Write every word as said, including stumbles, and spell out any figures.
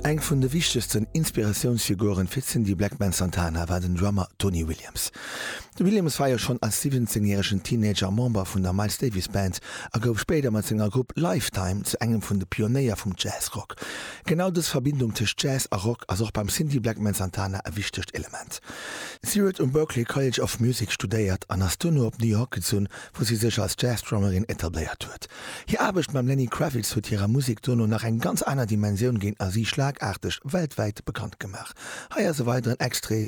Eng vun de wichtegsten Inspiratiounsfiguren fir Cindy Blackman Santana war den Drummer Tony Williams. De Williams war jo schonn als siwwenzéngjäregen Teenager Member vun der Miles Davis Band a gouf spéider mat senger Grupp Lifetime zu engem vun de Pionéier vum Jazzrock. Genau dës Verbindung tëscht Jazz a Rock ass och beim Cindy Blackman Santana e wichtegt Element. Si huet um Berklee College of Music studéiert an ass duerno op New York gezunn, wou si sech als Jazzdrummerin etabléiert huet. Hir Aarbecht mam Lenny Kravitz huet hirer Musek duerno nach eng ganz aner Dimensioun ginn a si schlagaarteg weltwäit bekannt gemaach. Hei ass e weideren Extrait